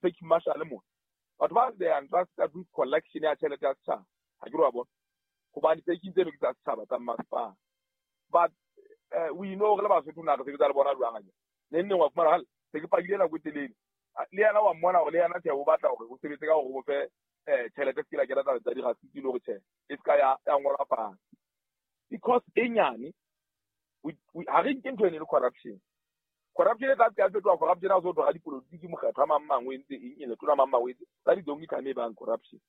Parking marshal mona, batho ba they are entrusted with collection ya tjhelete ya setjhaba. Ha ke re wa bona, hobane parking tseno ke tsa setjhaba tsa masepala. But we know re le Basotho na re sebetsa le bona jwang akere. Neng neng wa fumana hale se ke pakile nako e telele. Le yena wa mmona hore le yena tjhe o batla hore o sebetse ka hore o fe tjhelete se ke la kena taba tsa dirasiti le hore tjhe e ska ya ngolwa fatshe. Because e nyane ha re nke ntho ene le corruption. Corruption e tla tla fetoha corruption ha o so thwa dipolotiki mokgatlo a mang mang o entse eng ene tona mang mang o entse tsa di only time e bang corruption.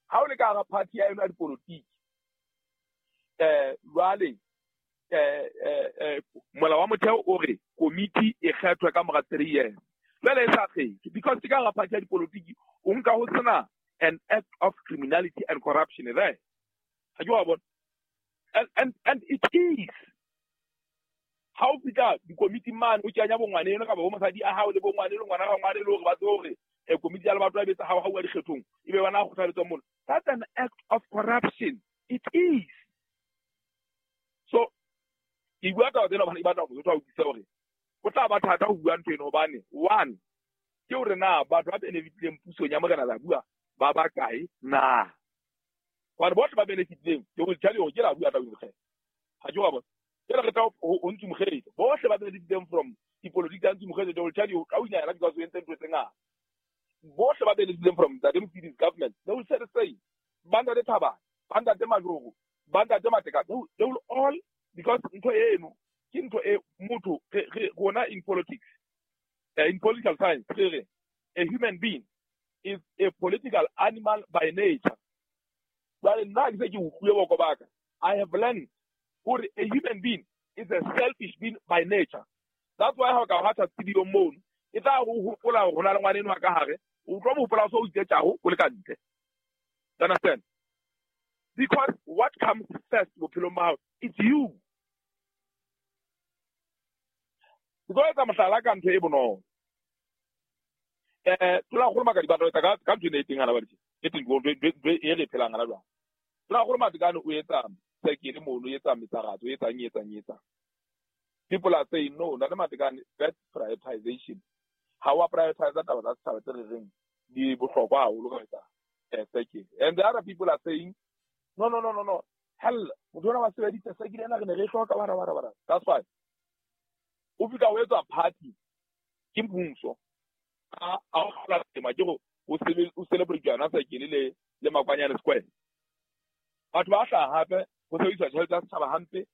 Ha o le ka hara party ya yona ya dipolotiki jwale molao wa motheo o re komiti e kgethwe ka mora 3 years. Jwale e sa kgethwe because ke ka hara party ya dipolotiki o nka ho sena an act of criminality and corruption there. Ha ke wa bona? And it is. Ha o fihla dikomiting mane o kenya bongwaneno kapa bo mosadi a hao le bongwaneno ngwana ga ngwane le hore ba tsebe hore komiti ya lebato ya betsa hao ha uwa dikgethong e be bana kgothaletswa mona. That's an act of corruption. It is. So ke bua taba tsena hobane ke batla hore motho a utlwisise hore ho tla ba thata ho bua ntho eno hobane one ke hore na batho ba benefitileng pusong ya Morena Zabua ba bakae na. Hobane bohle ba benefitileng ke ho tell you hore ke la bua taba eno ha ke wa bona. Ke re tla ho ntse mokgele bohle ba benefitileng from dipolotiki tsa ntse mokgele they will tell you ka o ina because o entse ntho tse ngata. Bohle ba benefitileng from Ntate Mosidi government they will say the same. Ba Ntate Thabane, ba Ntate Majoro, ba Ntate Mateka, they will all, because ntho eno ke ntho e motho re rona in politics, in political science re re a human being is a political animal by nature. Jwale nna ke se ke utlwile boko ba ka, I have learned hore a human being is a selfish being by nature. That's why ha o ka hatha studio mono e tla go hopola hore hona le ngwana enwa ka hare, o tlo mo hopola so o itse tjaho o le ka ntle. You understand? Because what comes first bophelong ba hao, it's you. Ke tlo etsa mohlala ka ntho e bonolo. Tona kgolo Makadi ba tlo etsa ka ntho e teng hana ba ditse. E teng go e re phelang hana jwang. Tona kgolo Matekane o etsa sekele mono, o etsa metsaratso, o etsang. People are saying no, Ntate Matekane, that's prioritization. Ha wa prioritize taba tsa setjhaba tse re reng di bohlokwa haholo ka etsa sekele. And the other people are saying no. Hell, motho ona wa sebedisa sekele ena re ne re hloka bara. That's why o fihla o etsa party ke mmuso. A o hlola tema ke go o celebrate yona sekele le Makwanyane Square. Batho ba hlaha hape ho sebedisa tjhelete ya setjhaba hampe.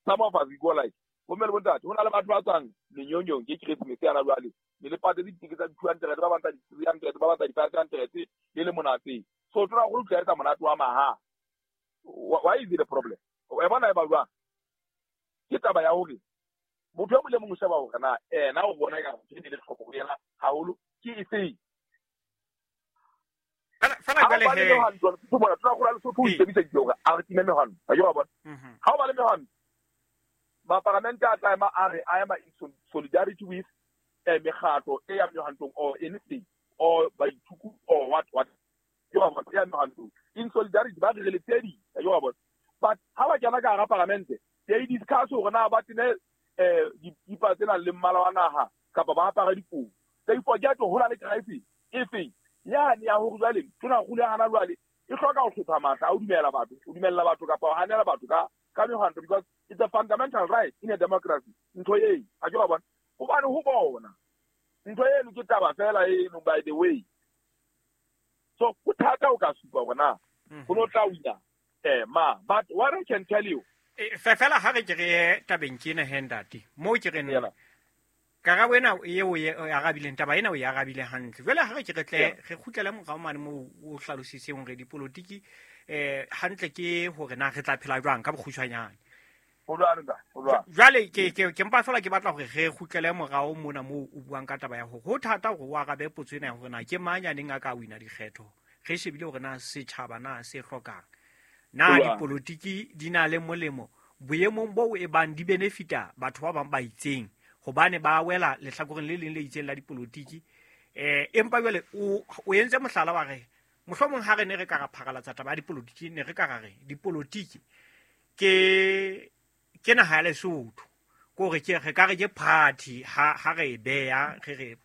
Some of us we go like bomme le bontate, ho na le batho ba tswang menyonyong ke Christmas yana jwale, ne le patetse ditekete tsa di-200, ba batla di-300, ba batla di-500 le le monate. So tona go tla etsa monate wa maha. Why is it a problem? O e bona e ba jwang? Ke taba ya hore motho e mong le mong o sheba hore na ena o bona ka ntho e le tlhoko ho yena haholo ke efeng. Fela jwale he tona go la Lesotho o ikemiseditse hore a re time mehwanto. Ha ke wa bona? Ha o ba le mehwanto, maparamente a tla ema a re a ema in solidarity with mekgatlo e ya mehwantong or anything or baithuku or what ke wa bona ya mehwantong in solidarity ba re le tsedi ke wa bona. But ha ba kena ka hara paramente they discuss hore na ba tene dikipa tsena le mmala wa naha kapa ba apara dikobo. They forget ho na le crisis e feng yane ya hore jwale tona kgolo ya hana jwale e hloka ho hlopha matla a o dumela batho, o dumella batho kapa o hanela batho ka mehwanto because it's a fundamental right in a democracy. Ntho e ha ke wa bona hobane ho bona ntho eno ke taba fela eno by the way. So ho thata o ka supa hore na ho no tla wina ma, but what I can tell you fela ha re ke re tabeng ke ena he ntate mo ke re nna karabo ena eo e arabileng taba ena o e arabile hantle. Jwale ha re ke re tle re kgutlele morao mane moo o hlalositseng hore dipolotiki hantle ke hore na re tla phela jwang ka bokgutshwanyane. Jwale ke mpa fela ke batla hore re kgutlele morao mona moo o buang ka taba ya hore ho thata hore o arabe potso ena ya hore na ke mang ya neng a ka wina dikgetho. Re shebile hore na setjhaba na se hlokang. Na dipolotiki di na le molemo boemong boo e bang di benefita batho ba bang ba itseng hobane ba wela lehlakoreng le leng le itseng la dipolotiki. Empa jwale o entse mohlala wa re mohlomong ha re ne re ka ra pharalatsa taba ya dipolotiki, ne re ka ra re dipolotiki ke naha ya Lesotho, ke hore ke re ka re ke party ha re e beha re re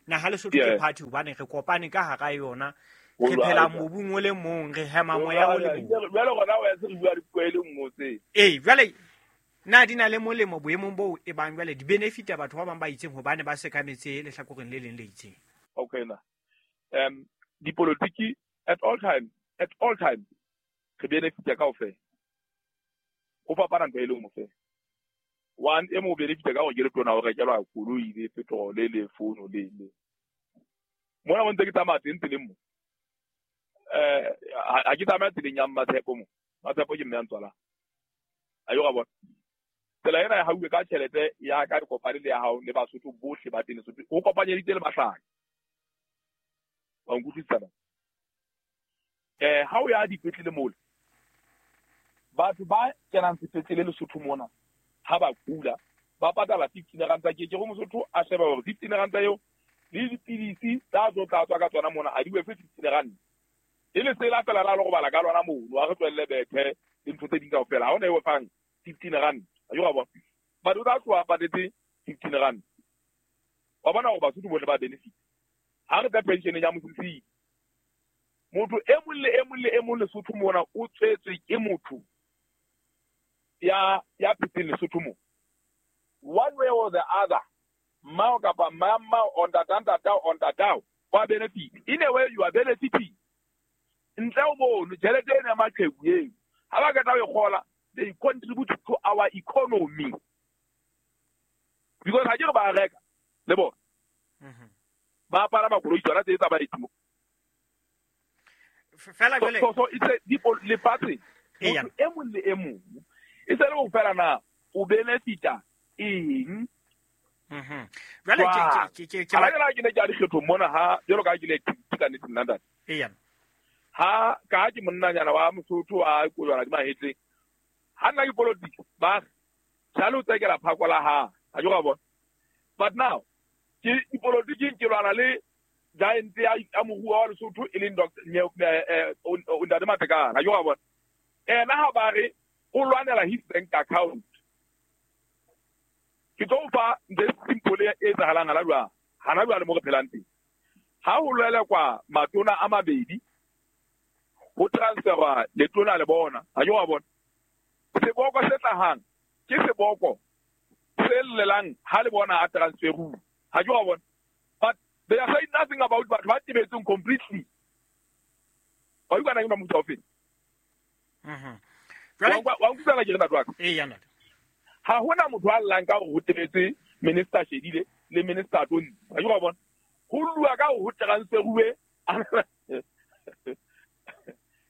Naha Lesotho ke party hobane re kopane ka hara yona, re phela mobung o le mong, re hema moya o le mong. Jwale gona o ya se re bua dipuo e le nngwe tse. Ee, jwale na di na le molemo boemong boo e bang jwale di benefita batho ba bang ba itseng hobane ba sekametse lehlakoreng le leng le itseng? Okay na. Dipolotiki at all times, re benefita kaofela. Ho fapana ntho e le nngwe fela. One e mo benefita ka hore ke le tona o rekelwa koloi le petrol le fono le le. Mona mo ntse ke tsamaya teng tseleng mo. Ha ke tsamaya tseleng ya Mmatshepo mo. Mmatshepo ke mme ya ntswalang. A yo ga bona. Tsela ena ya hauwe ka tjhelete ya ka kopane le ya hao le Basotho bohle ba teng Lesotho. Ho kopanyeditse le Mahlaka. Wa nkutlwisisa na? Ha o ya dipetlele mole, batho ba kenang sepetlele Lesotho mona ha ba kula ba patala 15 ranta. Ke go Mosotho a sheba hore 15 ranta eo le dipidisi tsa tlo tla tswa ka tsona mona a di wefe 15 ranta. E le tsela fela la go bala ka lona mono a re tswelle bethe le ntho tse ding kaofela. Ha ona e fang 15 rand. A yo ga bona. Batho ba tloha patetse 15 rand. Wa bona hore Basotho bohle ba benefit. Ha re tla pension ya mosisi, motho e mong le e mong le e mong Lesotho mona o tswetswe ke motho ya phetseng Lesotho mo. One way or the other, mmao kapa mama on ntatao on ntatao wa benefit. In a way you are benefiting. Ntle o mono tjhelete ena ya maqheku eo ha ba qeta ho e kgola, they contribute to our economy. Because ha ke re ba reka le bona. Ba apara makoloi tsona tse tsa baeti mo. Fela jwale so it's a lefatshe motho e mong le e mong e se le ho fela na o benefita eng. Jwale ke ke ne ke a dikgethong mona ha jwalo ka ke le ka nnete nna ntate. Eya. Ha ka ke monnanyana wa Mosotho a kojwana di mahetleng. Ha nna ke politics ba jalo tsekela phako la ha. A jo ga bona. But now ke dipolotiki ke lwana le giant ya moruo wa Lesotho e leng Dr. Ntate Matekane. A jo ga bona. Ena ha ba re o lwanela his bank account. Ke tlo fa ntho e simple e etsahalang hana jwale. Hana jwale mo re phelang teng. Ha ho lwela kwa matona a mabedi, ho transferwa letona le bona. Ha jo wa bona. Seboko se tlahang ke seboko se llelang ha le bona a transferu. Ha jo wa bona. But they are saying nothing about batho ba tebetseng completely. Ba utlwa na ke motho ofe? Wa nkutlwa ke re ntate wa ka? Ee, ya ntate. Ha hona motho a llang ka hore ho tebetse Minister Shedile le Minister Tontsi. Ha jo wa bona. Ho lua ka hore ho transferuwe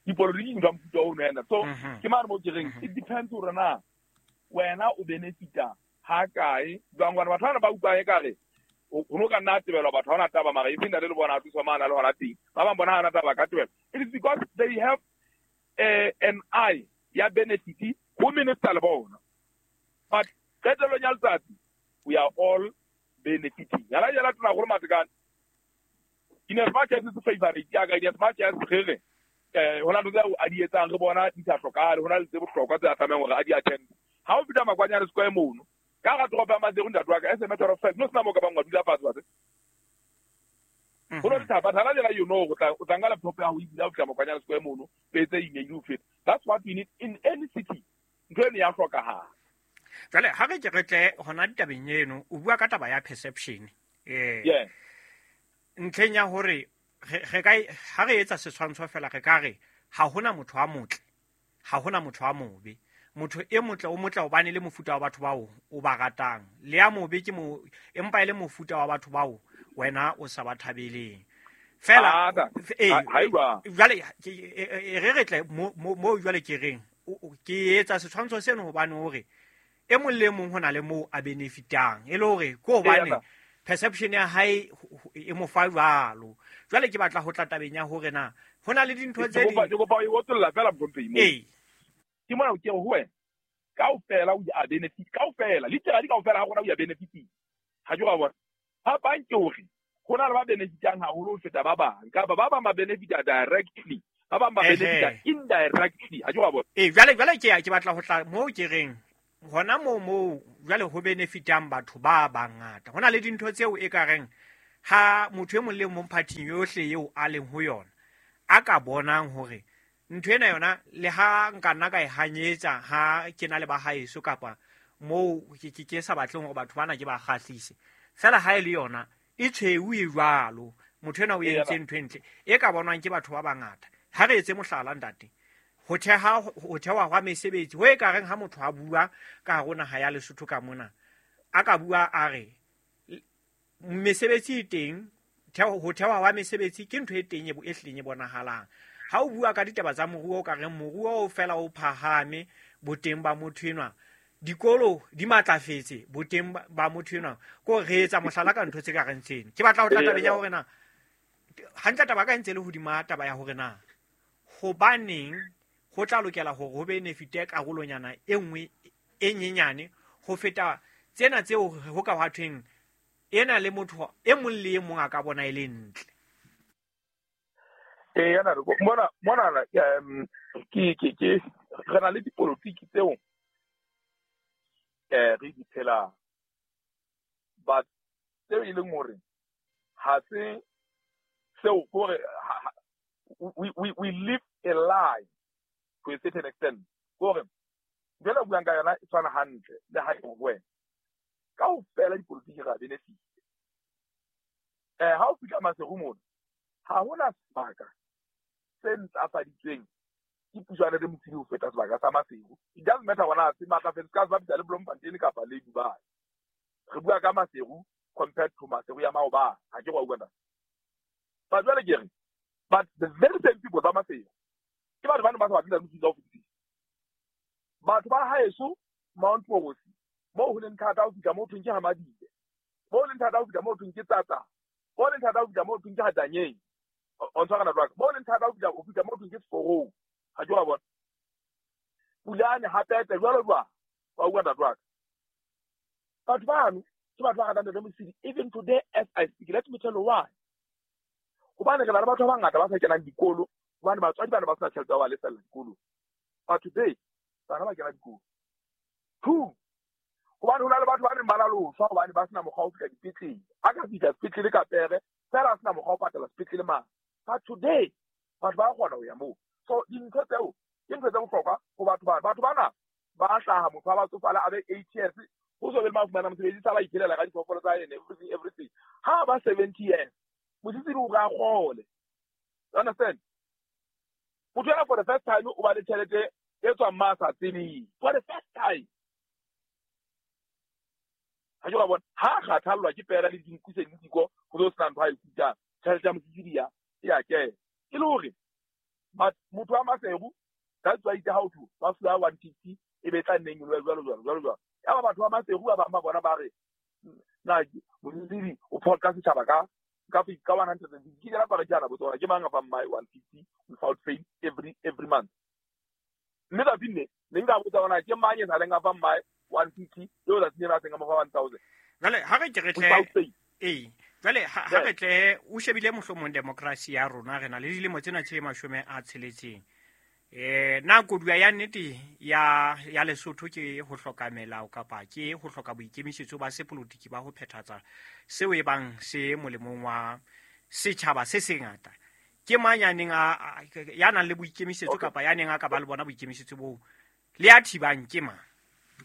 dipolotiki ntho ya mofuta ono ena. So ke mane mo ke reng it depends hore na wena o benefita ha kae. Jwang hobane batho bana ba utlwang ekare ho no ka nna tebelwa batho ha ona taba mara e seng ntate le bona a thuswa mane a le hona teng. Ba bang bona ha ana taba ka tebelwa. It is because they have an eye ya benefit ho minister le bona. But qetellong ya letsatsi we are all benefiting. Yala yala tona gore Matekane in as much as it's favorite ya ka, in as much as re re hona ntho tseo a di etsang re bona di sa hlokahale, hona le tse bohlokwa tse a tlamehang hore a di attend. Ha o fihla Makwanyane Square mono ka hara toropo ya Maseru ntate wa ka, as a matter of fact no sena moo ka bang wa dula fatshe wa tseba. Ho no thaba thana jela you know o tla nka laptop ya hao e bula o fihla Makwanyane Square mono o etse email o feta. That's what we need in any city. Ntho eno ya hlokahala. Jwale ha re ke re tle hona ditabeng eno, o bua ka taba ya perception. Yeah. Ntlheng ya hore re ka ha re etsa setshwantsho fela re ka re ha hona motho a motle, ha hona motho a mobe. Motho e motle o motle hobane le mofuta wa batho bao o ba ratang. Le ya mobe ke mo empa e le mofuta wa batho bao wena o sa ba thabeleng. Fela jwale re re tle mo jwale ke reng ke etsa setshwantsho seno hobane hore e mong le mong hona le moo a benefitang e le hore ke hobane perception ya hae e mo fa jwalo. Jwale ke batla ho tla tabeng ya hore na hona le dintho tse ding. Ke kopa o otlolla fela Mthomphei mo. Ee. Ke mona ke ho wena. Kaofela o a benefit, kaofela literally kaofela ha rona o a benefit. Ha ke wa bona. Phapang ke hore hona le ba benefitang haholo ho feta ba bang, kapa ba bang ba benefita directly, ba bang ba benefita indirectly. Ha ke wa bona. Ee, jwale ke batla ho tla moo ke reng hona moo jwale ho benefitang batho ba bangata. Hona le dintho tseo e ka reng Ha motho e mong le mong phathing yohle eo a leng ho yona a ka bonang hore ntho ena yona le ha nka nna ka e hanyetsa ha ke na le ba haeso kapa moo ke sa batleng hore batho bana ke ba kgahlise, fela ha e le yona e tshweu e jwalo, motho ena o entse ntho e ntle e ka bonwang ke batho ba bangata. Ha re etse mohlala ntate, ho thewa hwa mesebetsi ho e ka reng ha motho a bua ka hare ho naha ya Lesotho ka mona, a ka bua a re mesebetsi e teng, ho thewa hwa mesebetsi ke ntho e teng e hlileng e bonahalang. Ha o bua ka ditaba tsa moruo, o ka reng moruo o fela o phahame boteng ba motho enwa, dikolo di matlafetse boteng ba motho enwa, ko re etsa mohlala ka ntho tse ka reng tseno. Ke batla ho tla tabeng ya hore na hantle taba ka ntse le hodima taba ya hore na hobaneng ho tla lokela hore ho benefite karolonyana e nngwe e nyenyane ho feta tsena tseo ho ka hwa thweng ena le motho e mong le e mong a ka bona e le ntle. Yana re mona mona ke re na le dipolotiki tseo re di phelang, but tseo e leng hore ha se seo hore we live a lie to a certain extent. Hore jwale buang ka yona e tshwana hantle le ha e ho wena kaofela dipolotiki ra benefit. Ha o fihla Maseru mona, ha hona sebaka se ntlafaditsweng ke puso ya Ntate Mosidi ho feta sebaka sa Maseru. It doesn't matter hore se matlafetse ka se bapisa le Bloemfontein kapa le Dubai. Re bua ka Maseru compared to Maseru ya maobane, ha ke wa utlwa ntate. But jwale ke re, but the very same people tsa Maseru ke batho ba neng ba sa batle Ntate Mosidi ka ho fetisisa. Batho ba haeso Mount Mogosi, moo ho leng thata ho fihla moo thweng ke ha Madibe, moo leng thata ho fihla moo thweng ke Tsatsa, moo leng thata ho fihla moo thweng ke ha Tanyeng, o ntshwara ntate wa ka, moo leng thata ho fihla moo thweng ke Sekorong, ha ke wa bona. Pulane hape jwalo jwalo, wa utlwa ntate wa ka. Batho bano ke batho ba ratang Ntate Mosidi even today as I speak. Let me tell you why. Hobane re na le batho ba bangata ba sa kenang dikolo, hobane batswadi bana ba sena tjhelete ya ho ba lefella dikolo. But today bana ba kena dikolo. Two, hobane ho na le batho ba neng ba na le ho shwa hobane ba sena mokgwa wa ho fihla dipetlele. A ka fihla sepetlele ka pere, fela a sena mokgwa wa ho patala sepetlele mane. But today batho ba kgona ho ya moo. So dintho tseo ke ntho tse bohlokwa ho batho bana. Batho bana ba hlaha motho a ba tsofala a be 8 years, ho so be le ma fumana mosebetsi, sa ba iphelela ka diphoofolo tsa hae and everything, everything. Ha ba 70 years, Mosisili o re a kgole. You understand? Motho ena for the first time o ba le tjhelete e tswang ma sa tsebeng. For the first time. Ha ke wa bona, ha kgathallwa ke pera le dinku se le diko, ho so sena ntho a e kutang. Tjhelete ya Mosisili ya e a kena. E le hore but motho wa Maseru, that's why itse ha o thwe ba fuwa 150 e be tla nneng jwalo jwalo jwalo jwalo. Ya ba batho ba Maseru ba bang ba bona ba re na Mosisili o phoqa setjhaba ka 150. Ke jela para jana botsona ke mang a fang my 150 without fail every month. Mme tsatsing le ne nka botsa hore ke mang e sa leng a fang my 150 eo tsatsing lena a seng a mo fa 1000. Jwale ha re ke re tle ee, jwale ha re tle o shebile mohlomong democracy ya rona, re na le dilemo tsena tse 60. Na koduwa ya nnete ya Lesotho ke ho hloka melao kapa ke ho hloka boikemisetso ba sepolotiki ba ho phethatsa seo e bang se molemong wa setjhaba se sengata? Ke mang ya neng ya nang le boikemisetso kapa ya neng a ka ba le bona boikemisetso boo le ya thibang ke mang?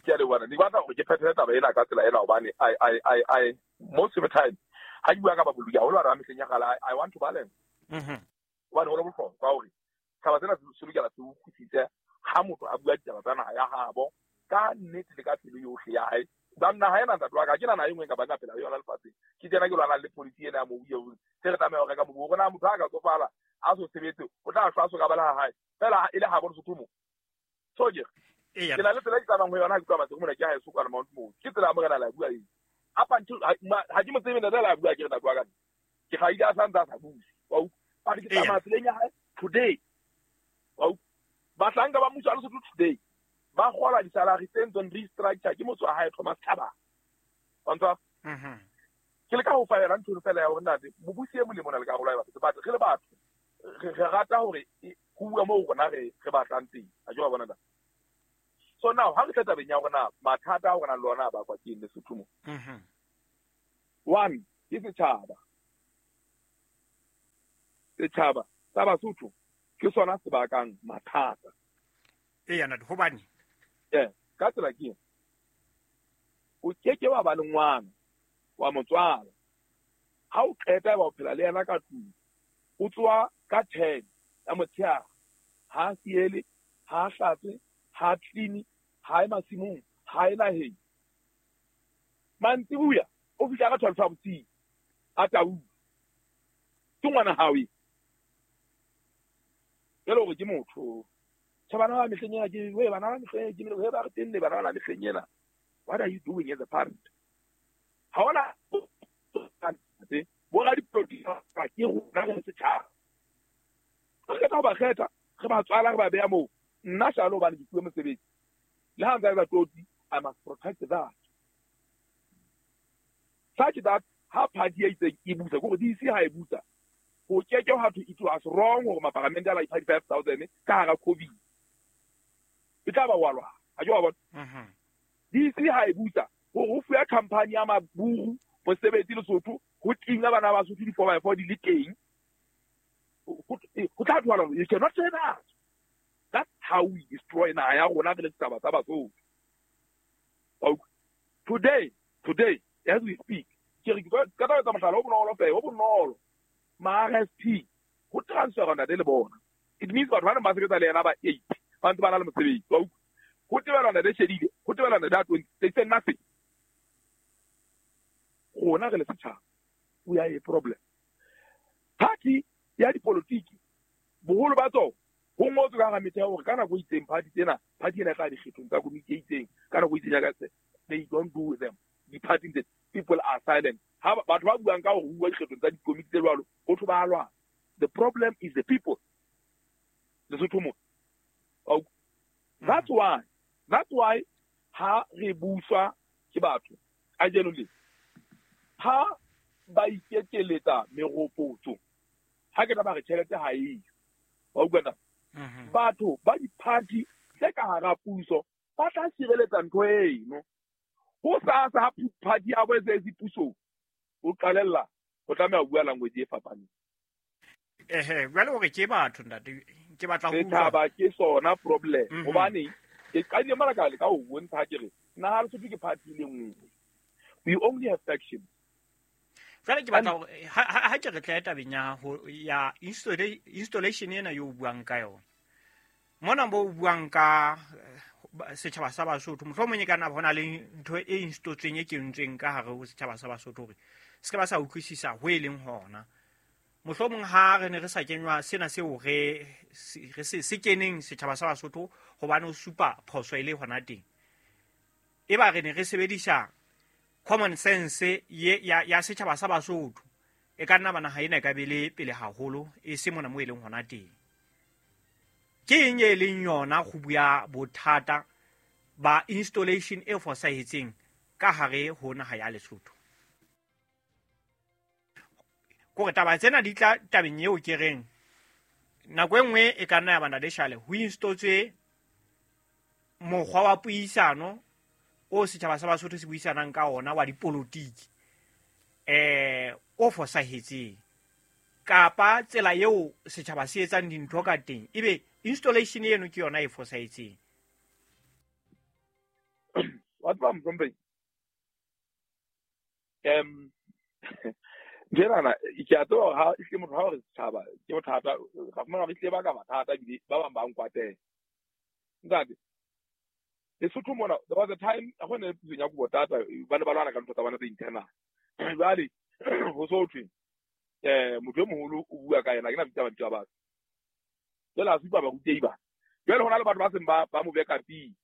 Ke a leboha. Ke batla hore ke phethele taba ena ka tsela ena hobane I most of the time ha ke bua ka baboloki haholo ba mehleng ya kgale, I want to balance. Hobane ho le bohlokwa hore taba tsena se lokela se utlwisise ha motho a bua ditaba tsa naha ya habo ka nnete le ka pelo yohle ya hae. Ba naha ena ntate wa ka, ke na naha e nngwe kapa nka phela yona lefatsheng. Ke tsena ke lwanang le policy ena ya mobu eo, se re tlameha ho reka mobu. Hore na motho ha ka tsofala a so sebetse, o tla shwa a so ka ba le ha hae. Fela e le habo Lesotho mo. So ke ke na le tsela e ke tsamayang ho yona ha ke tloha Maseru mona, ke ha heso kwana Mount Mosi. Ke tsela ya morena la bua eo. Up until ha ke mo tsebe ntate la bua ke re ntate wa ka. Ke hlahile a santse a sa buse. Wa utlwa? But ke tsamaya tseleng ya hae today. Wa utlwa? Bahlanka ba mmuso wa Lesotho today ba kgola di-salary tse ntseng restructure ke motho wa hae Thomas Thabane. Wa ntshwara? Ke leka ho fa yona ntho fela ya hore ntate mobusi e molemo o na le karolo ya batho, but re le batho re rata hore ho bua moo rona re batlang teng. Ha ke wa bona ntate? So now ha re tla tabeng ya hore na mathata a rona le ona a bakwa ke eng Lesotho mo. One, ke setjhaba. Setšhaba sa Basotho ke sona se bakang mathata. Eya ntate, hobane ka tsela ke ena, o keke wa ba le ngwana wa motswala, ha o qeta ba o phela le yena ka tlung, o tsoa ka 10 ya motshehare, ha siele, ha hlatse, ha clean, ha e masimong, ha e naheng. Mantsibuya o fihla ka 12 ya bosiu, a tau. Ke ngwana hao e. Jwale hore ke motho. Tjhe, bana ba mehleng ena ke, we, bana ba mehleng ke, we, ba re tenne, bana ba mehleng ena. What are you doing as a parent? Ha hona bo radipolotiki ke rona re setjhaba. Re kgetha ho ba kgetha, re ba tswala, re ba beha moo. Nna shalo hobane ke fuwe mosebetsi. Le ha ntse ba tlotsi, I must protect that. Such that ha party e itseng e busa, ke hore DC ha e busa, ho keke ha thwe it was wrong hore maparamente a la ipha di-5,000 ka hara COVID. E tla ba wa lwana. Ha ke wa bona? DC ha e busa, hore ho fuwe company ya maburu mosebetsi Lesotho, ho tinga bana ba Basotho di-four by four di le teng. Ho tla thwala, you cannot say that. That's how we destroy naha ya rona re le setjhaba sa Basotho. Today, as we speak, ke re ka tla etsa mohlala o bonolo fela, o bonolo. Ma RSP, ho transfer ntate le bona. It means batho ba neng ba sebetsa le yena ba 8, ba ntse ba na le mosebetsi. Wa utlwa? Ho tebelwa ntate Shedile, ho tebelwa ntate 20, they say nothing. Rona re le setjhaba, we are a problem. Party ya dipolotiki, boholo ba tsona, ho ngotswe ka hara metheo hore ka nako e itseng party tsena, party ena e tla dikgethong tsa komiti e itseng, ka nako e itseng ya ka se, they don't do them. Di-party tse, people are silent. Ha batho ba buang ka hore ho bua dikgethong tsa dikomiti tse jwalo, ho thwe ba lwana. The problem is the people. Lesotho mo. That's why ha re buswa ke batho kajeno le ha ba ikekeletsa meropotso, ha ke tla ba re tjhelete ha eyo. Wa utlwa na? Batho ba di-party tse ka hara puso ba tla sireletsa ntho eno. Ho sasa ha party ya bo e se pusong, o qalella ho tlameha ho bua language e fapaneng. Ehe, jwale hore ke batho ntate, ke batla ho utlwa. Setjhaba ke sona problem. Hobane ke qadile mona ka leka ho bontsha ke re naha Lesotho ke party e le nngwe. We only have factions. Jwale ke batla hore ha ke re tle tabeng ya ho ya installation ena yo buang ka yona. Mona bo buang ka setjhaba sa Basotho, mohlomong e ka nna hona le ntho e installetsweng e kentsweng ka hare ho setjhaba sa Basotho hore se ka ba sa utlwisisa ho e leng hona. Mohlomong ha re ne re sa kenywa sena seo re se keneng setjhaba sa Basotho hobane o supa phoso e le hona teng. E ba re ne re sebedisa common sense ya setjhaba sa Basotho, e ka nna ba naha ena e ka be le pele haholo e se mona mo e leng hona teng. Ke eng e leng yona go bua bothata ba installation e fosahetseng ka hare ho naha ya Lesotho? Kore taba tsena di tla tabeng eo ke reng nako e nngwe e ka nna ya bana le shale ho installetswe mokgwa wa puisano o setjhaba sa Basotho se buisanang ka ona wa dipolotiki o fosahetseng, kapa tsela eo setjhaba se etsang dintho ka teng ebe installation eno ke yona e fosahetseng. Wa tseba Mthomphei, Njenana ke a tseba ha e motho ha re setjhaba ke bothata, ra fumana re tle ba ka mathata ebile ba bang ba nkwatela. Ntate, Lesotho mona, there was a time go ne pusong ya kobo tata ba ne ba lwana ka ntho tsa bona tse internal. Jwale ho so thwe motho e moholo o bua ka yena, ke na bitsa mabitso a batho. Jwale a supa barutehi ba. Jwale hona le batho ba seng ba mo beka pele.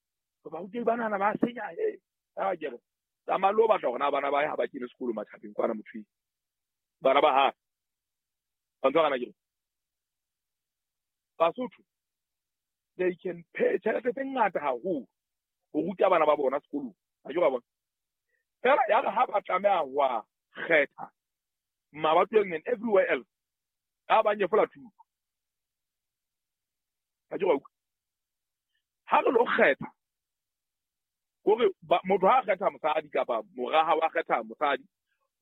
Barutehi ba nana ba senya he. A ke re tsamaya le o batla hore na bana ba hae ha ba kene sekolo matjhabeng kwana motho. Bana ba hae. Ba ntse ba ke re Basotho they can pay tjhelete tse ngata haholo ho ruta bana ba bona sekolong. Ha ke ba bona. Fela ya re ha ba tlameha ho a kgetha mabatoweng and everywhere else, a ba nyefola thuto. Ha ke ba utlwa. Ha re lo kgetha, kore motho ha kgetha mosadi kapa mora ha wa kgetha mosadi,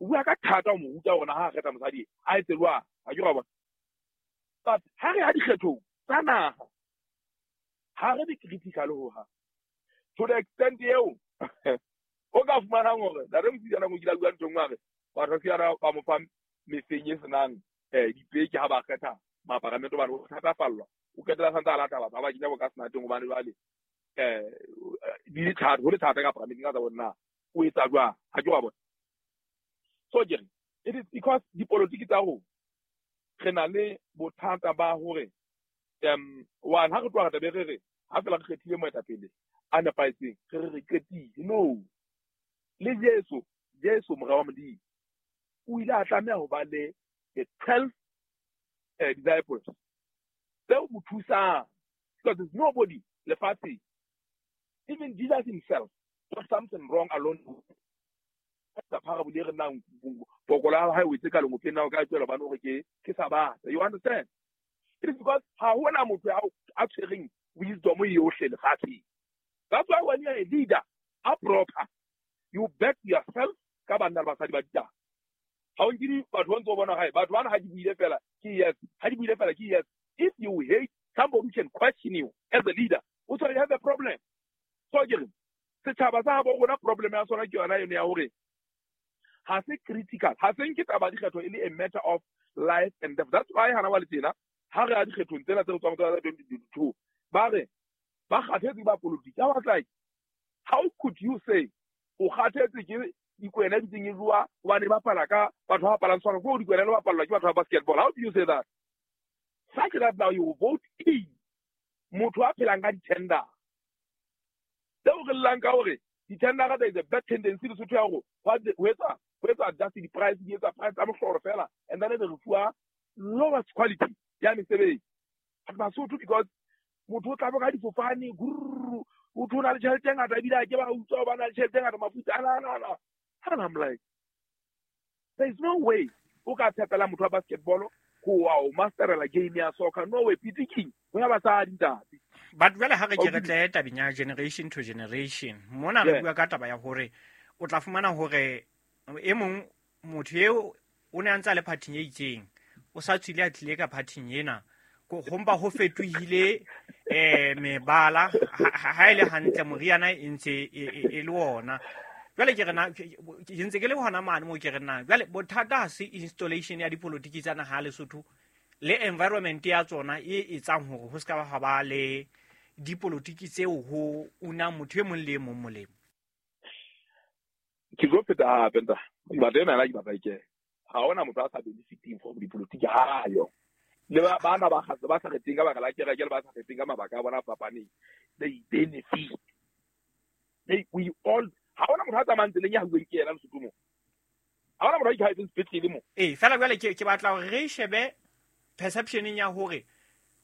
o bua ka thata ho mo ruta hore na ha kgetha mosadi a etse jwang. Ha ke ba bona. But ha re ya dikgethong tsa naha, ha re be critical ho hang. To the extent eo o ka fumanang hore ntate Mosijana o kile a bua ntho e nngwe a re batho ba ba mo fa mefeng e senang dipeke ha ba kgetha maparamente hobane o thatafallwa, o qetela santse a lata batho ba ba kenya bo ka senateng hobane jwale di le thata, ho le thata ka paramenteng ka tsa bona na o etsa jwang, ha ke wa bona. So ke re it is because dipolotiki tsa rona re na le bothata ba hore one ha re tloha re tla be re re ha fela re kgethile moetapele a nepahetseng re re re qetile. No, le Jesu, Jesu mora wa Modimo o ile a tlameha ho ba le the 12 disciples tseo mo thusang, because there's nobody lefatsheng, even Jesus himself got something wrong alone. The parable e re nang pokolo ya hae o etse ka lengopeng na o ka tswela bana hore ke Sabatha. You understand? It is because ha hona motho a tshwereng wisdom yohle lefatsheng. That's why when you are a leader, a proper, you back yourself ka banna le basadi ba ditaba. Ha o nkile batho ba ntse o bona hae, batho bana ha di buile fela ke yes, ha di buile fela ke yes. If you hate somebody who can question you as a leader, o you have a problem. So ke re setjhaba sa habo rona problem ya sona ke yona eno ya hore ha se critical, ha se nke taba dikgetho e le a matter of life and death. That's why hana wa le tjena ha re ya dikgethong tsena tse re tswang tsa 2022 ba re ba kgathetse ba politiki. I was like, how could you say o kgathetse ke dikwena di tseng e jwa hobane ba bapala ka batho ba bapalang soccer, ko dikwena le bapallwa ke batho ba basketball? How do you say that? Such that now you vote in motho a phelang ka di-tender tseo re llang ka hore di-tender there is a bad tendency Lesotho ya hore ho etsa adjust di-price, di etsa price tsa mohlolo fela, and then re fuwa lowest quality ya mesebetsi. But Basotho, because motho o tla bo ka difofane, grrr, o tho na le tjhelete e ngata ebile a ke ba utswa ba na le tjhelete e ngata mafutsa ana ana ana. And I'm like, there is no way o ka tshepela motho wa basketball ho wa o masterela game ya soccer. No way, piti king ho ya basadi ntate. But jwale ha re ke re tle tabeng ya generation to generation, mona re bua ka taba ya hore o tla fumana hore e mong motho eo o ne a ntse a le phathing e itseng, o sa tswile a tlile ka phathing ena, ho mpa ho fetohile mebala, ha e le hantle moriana e ntse e le ona. Jwale ke re na, ke ntse ke le hona mane moo ke re na, jwale bothata ha se installation ya dipolotiki tsa naha ya Lesotho le environment ya tsona e etsang hore ho ska ba ba le dipolotiki tseo ho una motho e mong le e mong molemo. Ke tlo pheta hape nta, batho ena ke batla ke ha hona motho a sa benefiting from dipolotiki ha yo. Le ba bana ba kgatse ba sa kgetheng ka baka la kereke le ba sa kgetheng ka mabaka a bona a fapaneng, they benefit. They, we all, ha hona motho a tsamayang tseleng ya hauweng ke yena Lesotho mo. Ha hona motho a ikhaetseng sepetlele mo. Ee, fela jwale ke batla hore re shebe perception ya hore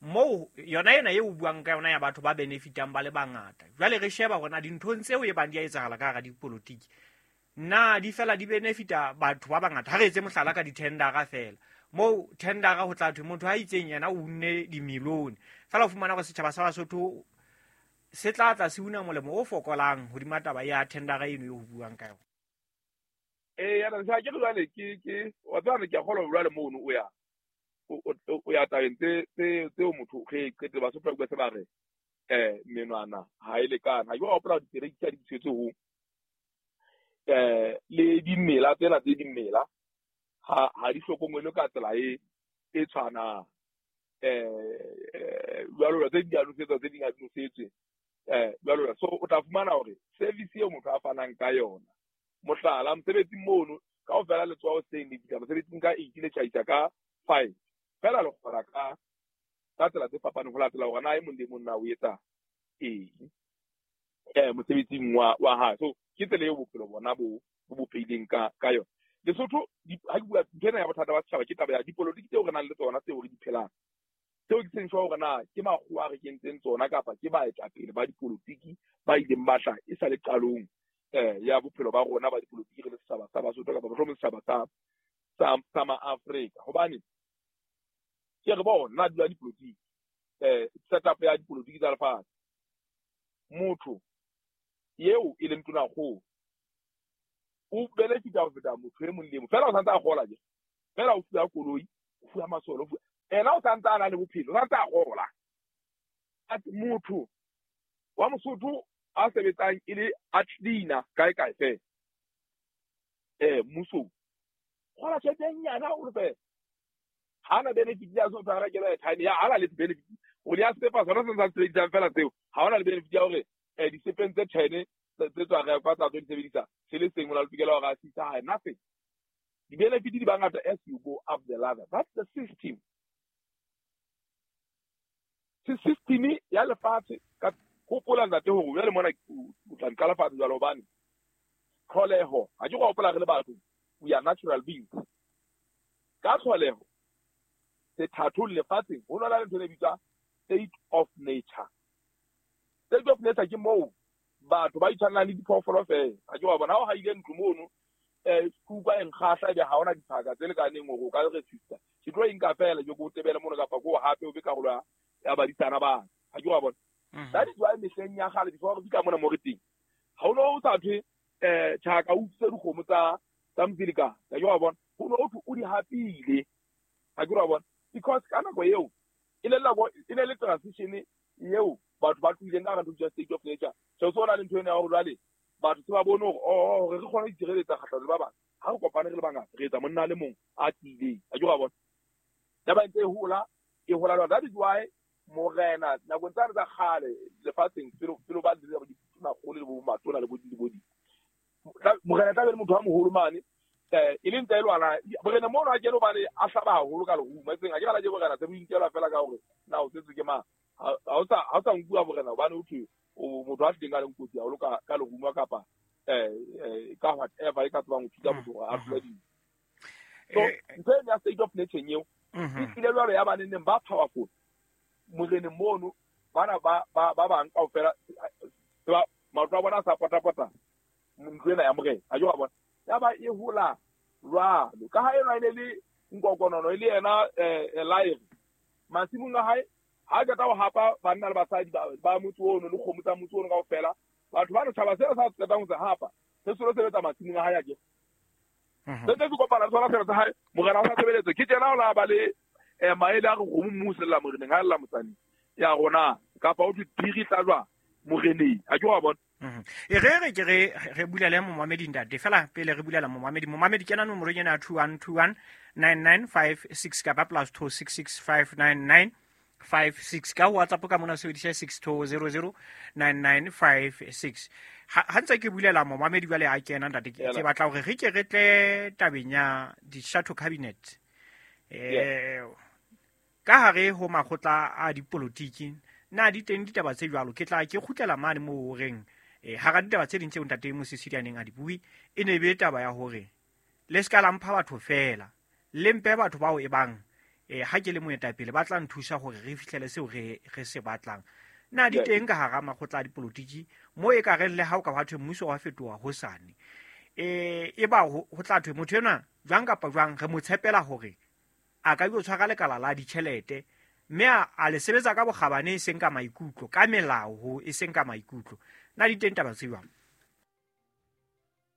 moo yona ena eo o buang ka yona ya batho ba benefitang ba le bangata. Jwale re sheba hore na dinthong tseo e bang di a etsahala ka hara dipolotiki, na di fela di benefita batho ba bangata. Ha re etse mohlala ka di-tendera fela, moo tendera ho tla thwe motho a itseng yena o unne dimilione, fela o fumana hore setjhaba sa Basotho se tla tla se una molemo o fokolang hodima taba ya tendera eno eo ho buang ka yona. Ee, ya nna, ke re jwale ke wa tseba ke a kgolwa jwale mono o ya o ya tabeng tseo motho ge qete Basotho ba bua se ba re menwana ha e lekane. Ha ke wa hopola ditereki tsa di tshwetse ho le dimela tsena tse dimela ha di hlokomelwe ka tsela e tshwanang. Jwalo tse di a nosetswa, tse ding ha di nosetswe, jwalo. So o tla fumana hore service eo motho a fanang ka yona, mohlala mosebetsing mono kaofela le tswa hoseng le fihla mosebetsing ka 8 le tjhaisa ka 5, fela le kgora ka tsela tse fapaneng ho latela hore na e mong le mong na o etsa eng mosebetsing wa hae. So ke tsela eo bophelo bona bo bopehileng ka yona. Lesotho ha ke bua ntho ena ya bothata ba setjhaba, ke taba ya dipolotiki tseo re nang le tsona tseo re di phelang, tseo ke seng sure hore na ke makgowa a re kentseng tsona kapa ke baetapele ba dipolotiki ba ileng ba tla e sa le qalong ya bophelo ba rona ba dipolotiki re le setjhaba sa Basotho kapa mohlomong setjhaba sa Ma-Afrika. Hobane ke re bona nna dula dipolotiki, setup ya dipolotiki tsa lefatshe, motho eo e leng tonakgolo o benefita ho feta motho e mong le e mong, fela o santse a kgola je, fela o fuwa koloi, o fuwa masole, o fuwa Ena o santse a na le bophelo, o santse a gola. Motho wa Mosotho a sebetsang e le a cleaner kae kae fela mmusong, gola tjhelete e nyane haholo fela. Ha na benefit ya so tshwara kelo airtime ya ha na le benefit o le ya sepa sona se sa sebedisang fela tseo. Ha ona le benefit ya hore disepeng tse 10 tse tswa rekwa tsa tlo di sebedisa se le seng o na le tokelo hore a sisa hae nothing. Di-benefit di bangata as you go up the ladder. That's the system. System ya lefatshe ka hopola ntate hore jwale mona o tla nka lefatshe jwalo hobane tlholeho ha ke go hopola re le batho, we are natural beings. Ka tlholeho sethathong lefatsheng ho na le ntho e bitswang state of nature. State of nature ke moo batho ba itshwanang le diphoofolo fela. Ha ke wa bona ha o haile ntlo mono kuka e nkgahla ebe ha hona diphaka tse lekaneng hore o ka resista. Ke tlo e nka fela ke ko tebele mono kapa ko hape o be karolo ya badisana ba. Ha ke wa bona. That is why mehleng ya kgale before re fihla mona mo re teng, ha o no o sa thwe tjhaka o utswitse dikgomo tsa Mzilikazi. Ha ke wa bona. Ho no ho thwe o di hapile. Ha ke wa bona. Because ka nako eo e ne le transition eo batho ba tlohileng ka hara ntho state of nature. So so na le ntho ena ya hore jwale batho se ba bone hore re kgone ho itshireletsa kgahlano le ba bang. Ha re kopane re le bangata re etsa monna a le mong a tiileng. Ha ke wa bona. Taba ntse e hola e hola jwalo. That is why morena nakong tsane tsa kgale lefatsheng pele ba le ditonakgolo le bo matona le bo di morena tla be le motho wa moholo mane e leng tsa e lwana morena mono a kene hobane a hlaba haholo ka lerumo. Eseng ha ke bala ke borena se bo inkelwa fela ka hore na o tsetswe ke mang. Ha o sa nkuwa borena hobane ho thwe o motho a tlileng a leng kotsi haholo ka lerumo kapa ka whatever e ka tsebang ho thusa motho hore a hlole dintho. So ntho eno ya state of nature eo e tlile jwalo ya baneng ba powerful moreneng mono bana ba bang kaofela maoto a bona a sa potapota ntlo ena ya morena. Ha ke wa bona. Ya ba e hola jwalo ka ha enwa e ne le nkokonono e le yena laere masimong a hae. Ha qeta ho hapa banna le basadi ba motse ono le kgomo tsa motse ono kaofela, batho ba tshaba seo sa qetang ho se hapa se solo sebetsa masimong a hae a ke se se kopana tsona sera tsa hae. Morena o sa sebeletse ke tjena o la ba le maele a re kgomo mmusella moreneng ha lla motsaneng ya rona kapa o thwe phiri tla jwa moreneng. Ha ke wa bona. E re ke re bulele momamedi ntate fela pele re bulela momamedi. Momamedi kena nomorong ena ya 21219956 kapa +26659956 ka WhatsApp ka mona sebedisa 62009956. Ha ntse ke bulela momamedi jwale a kena ntate ke batla hore re ke re tle tabeng ya di-shadow cabinet. Ka hare ho makgotla a dipolotiki na di teng ditaba tse jwalo. Ke tla ke kgutlela mane moo o reng hara ditaba tse ding tseo ntate Mosisili a neng a di bue e ne be taba ya hore le ska la mpha batho fela, le mpe batho bao e bang ha ke le moetapele ba tla nthusa hore re fihlele seo re se batlang. Na di teng ka hara makgotla a dipolotiki mo e ka reng le ha o ka hwa thwe mmuso wa fetoha hosane e ba ho tla thwe motho enwa jwang kapa jwang re mo tshepela hore a ka yo tshwara lekala la ditjhelete mme a le sebetsa ka bokgabane e seng ka maikutlo, ka melao e seng ka maikutlo. Na di teng taba tse jwang?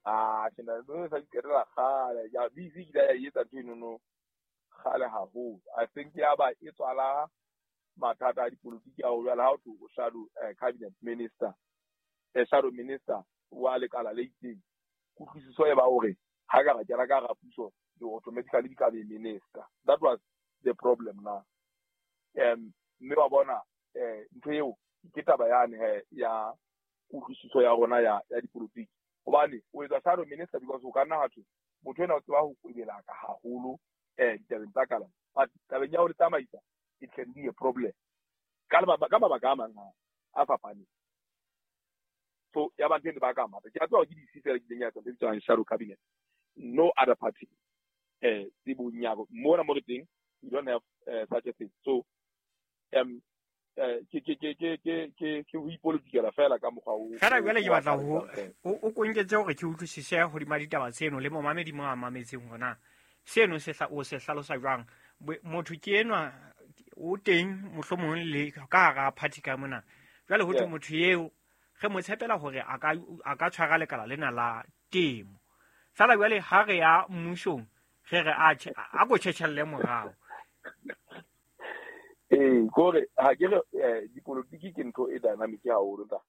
Ke na le sa diqetela kgale ya busy ke ya etsa ntho eno no kgale haholo. I think ya ba e tswala mathata a dipolotiki a ho jwala ha o thwe o shadow cabinet minister, shadow minister wa lekala le itseng. Kutlwisiso e ba hore ha ka ra kena ka hara puso you automatically become a minister. That was the problem now. Mme wa bona ntho eo ke taba yane ya kutlwisiso ya rona ya dipolotiki. Hobane o etsa shadow minister because o ka nna ha thwe motho ena o tseba ho kwebelaka haholo ditabeng tsa kalafo, but tabeng ya ho le tsamaisa it can be a problem ka mabaka a mang a fapaneng. So ya ba ntho ba ka mata ke a tseba ke di fela ke ya tsa bitswang shadow cabinet. No other party tsebong ya mona mo re teng we don't have such a thing. So ke ho ipolotikela fela ka mokgwa o fela. Jwale ke batla ho o konketse hore ke utlwisise hodima ditaba tseno le momamedi mo a mametseng hona seno se o se hlalosa jwang. Motho ke enwa o teng mohlomong le ka hara party ka mona jwale ho thwe motho eo re mo tshepela hore a ka tshwara lekala lena la temo. Fela jwale ha re ya mmusong re re a ko tjhetjhelle morao. Kore ha ke re dipolotiki ke ntho e dynamic haholo ntate.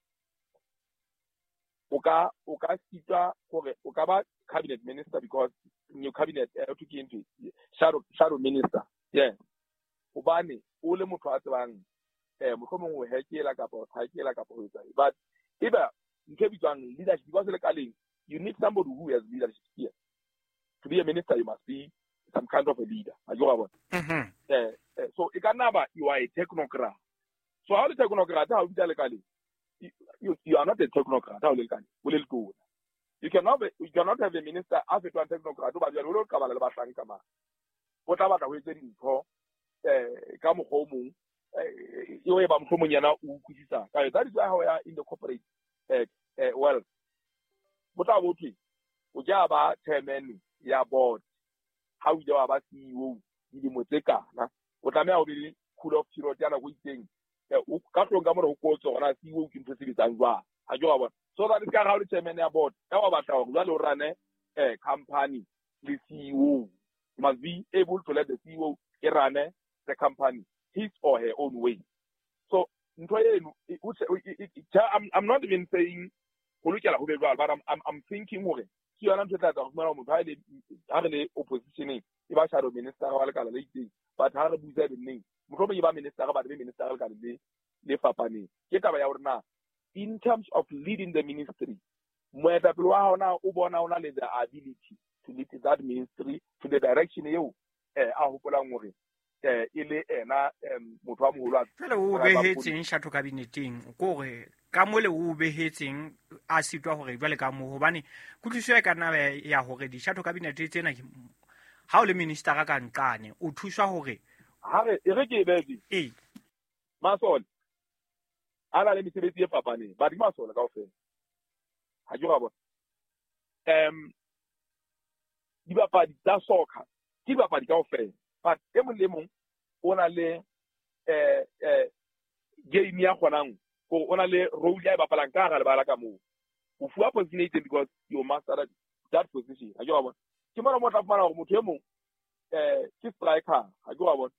O ka sitwa hore o ka ba cabinet minister because new cabinet to ke ntho shadow minister, yeah, hobane o le motho a tsebang mohlomong ho hekela kapa ho thakela kapa ho etsa, but eba ntho e bitswang leadership, because le kaleng you need somebody who has leadership skills. To be a minister, you must be some kind of a leader, a jwa bona. So e ka nna ba you are a technocrat. So ha o le technocrat, ha o bitsa lekaleng, you are not a technocrat. Ha o le lekaleng, o le letona, you cannot have a minister a fetoang technocrat o ba jwale o le qabala le bahlanka mane, o tla batla ho etse dintho ka mokgwa o mong eo e ba mohlomong yena o utlwisisa ka yona. That is why ha o ya in the corporate world, bo tla bo thwe o ke ba chairman ya board, ha o ile wa ba CEO dilemo tse kana, o tlameha ho be le cool off period ya nako e itseng. Ka hlong ka mora ho kotso hore na CEO ke ntho e sebetsang jwang, ha ke wa bona? So that is ka ha o le chairman ya board, ya wa batla hore jwale o run-e company le CEO, you must be able to let the CEO e run-e the company his or her own way. So ntho eno I'm not even saying ho lokela ho be jwalo, but I'm thinking hore ke yona ntho e tla etsa ho fumana motho ha re le oppositioneng e ba shadow minister wa lekala le itseng, but ha re busa e neng mohlomong e ba minister, but be minister lekala le fapaneng. Ke taba ya hore na in terms of leading the ministry, moetapele wa hao na o bona o na le the ability to lead that ministry to the direction eo a hopolang hore e le ena motho wa moholo. Jwale o behetseng shadow cabineteng kore ka mole o behetseng a sitwa hore jwale ka moo, hobane kutlwisiso e ka nna ya hore di-shadow cabinet tsena, ha o le ministera ka nqane, o thuswa hore Ha re e re ke e behe. Ee. Masole a na le mesebetsi e fapaneng, but ke masole kaofela, ha ke ra bona? Dibapadi tsa soccer ke dibapadi kaofela, but e mong le mong o na le game ya kgonang gore o na le role ya e bapalang ka hara lebala ka moo. O fuwa position e itseng because you master that position, ha ke wa bona? Ke mona mo tla fumana hore motho e mong ke striker, ha ke wa bona?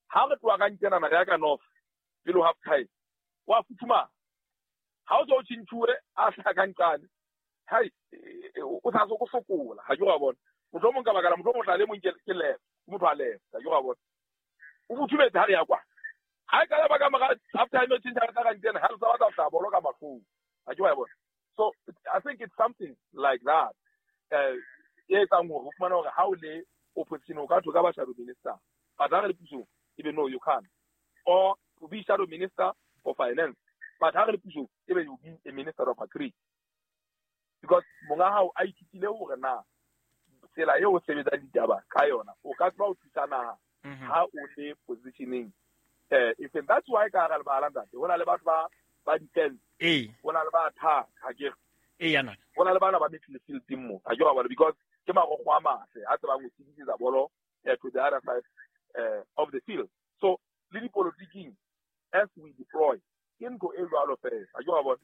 Ha re tloha ka nkenana re ya ka north pele ho half time, wa futhumala. Ha o so o tjhentjhuwe a hlaha ka nqane, hai, o sa so sokola, ha ke wa bona? Mohlomong ka baka la mohlomong o tla le mong ke left, ke motho a left, ha ke wa bona? O futhumetse ha re ya kwa, ha e ka ba ka mora half time o tjhentjha ka nqane, ha re sa batla ho hlaha bolo ka mahlong, ha ke wa bona? So I think it's something like that e etsang hore o fumane hore ha o le opposition o ka thwe ka ba shadow minister, but ha re le pusong ebe no, you can't, or to be shadow minister for finance, but ha re le pusong ebe you be a minister of agri, because monga hao a ithutile hore na tsela eo o sebetsang ditaba ka yona o ka tseba ho thusa naha ha o le positioning e feng. That's why ka hara lebala, ntate, ho na le batho ba defense, ho na le ba attack, ha ke re? Ee, yana. Ho na le bana ba midfielding mo, ha ke wa bona? Because ke marokgo a matle a tsebang ho sedisetsa bolo to the other side of the field. So le dipolotiking, as we deploy, ke ntho e jwalo fela, ha ke wa bona?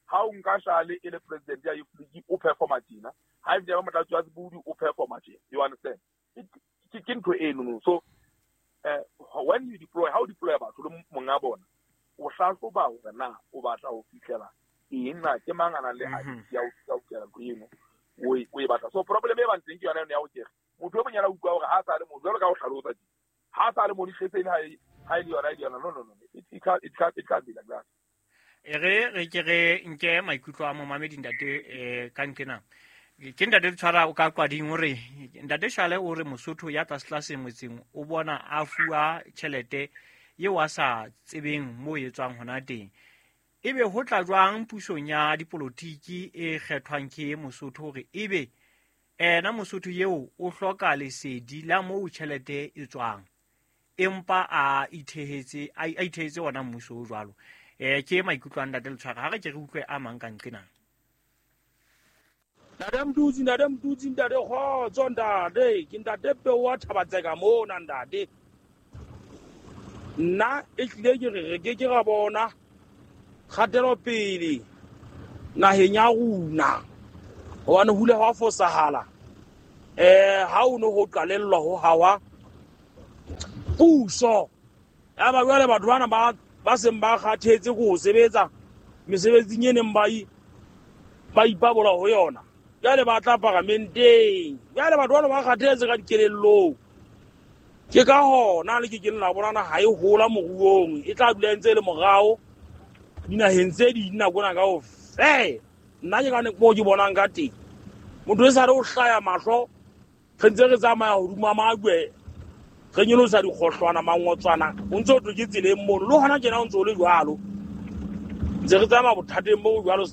Ha o nka Shale e le president ya youth league, o performa tjena, ha e ba motlatsi wa Sebudi o performa tjena, you understand? Ke ntho eno no. So when you deploy, how deploy batho le monga bona, o hlahloba hore na o batla ho fihlela eng, na ke mang a nang le ability ya ho fihlela ntho eno o e batla. So problem e bang teng ke yona eno ya ho kere motho e monyana utlwa hore ha sa le mo jwalo ka ho hlalosa tje, ha sa le mo dihletseng, ha e le yona e le yona. No, no, no, it can't be like that. E re ke re nke maikutlo a momamedi, ntate, ka nqena ke ntate Tshwara o ka Qwading. O re ntate Shale o re Mosotho ya tlasetlase motseng o bona a fuwa tjhelete eo a sa tsebeng mo e tswang hona teng, ebe ho tla jwang pusong ya dipolotiki e kgethwang ke Mosotho hore ebe ena Mosotho eo o hloka lesedi la moo tjhelete e tswang, empa a ithehetse ona mmuso o jwalo? Ke maikutlo a ntate Letshwara. Ha re ke re utlwe a mang ka nqena. Ntate Mtutsi, ntate Mtutsi, ntate, kgotso ntate. Ke ntate Peo wa Thabatseka mona, ntate. Nna e hlile ke re re ke ke ra bona kgatelopele naheng ya rona, hobane ho ile hwa fosahala ha o no ho qalellwa ho hawa puso. Yaba jwale batho bana ba seng ba kgathetse ko ho sebetsa mesebetsing e neng ba ipabola ho yona, jwale ba tla paramenteng. Jwale batho bana ba kgathetse ka dikelellong. Ke ka hona le ke keng la bona naha e hola moruong, e tla dula e ntse e le morao dinaheng tse ding nako ena kaofela. Nna ke ka moo ke bonang ka teng. Motho e sale o hlaya mahlo, re ntse re tsamaya hodima majwe, re nyolosa dikgohlwana, mangotswana, o ntse o thwe ke tseleng mono. Le hona tjena o ntse o le jwalo. Ntse re tsamaya bothateng bo jwalo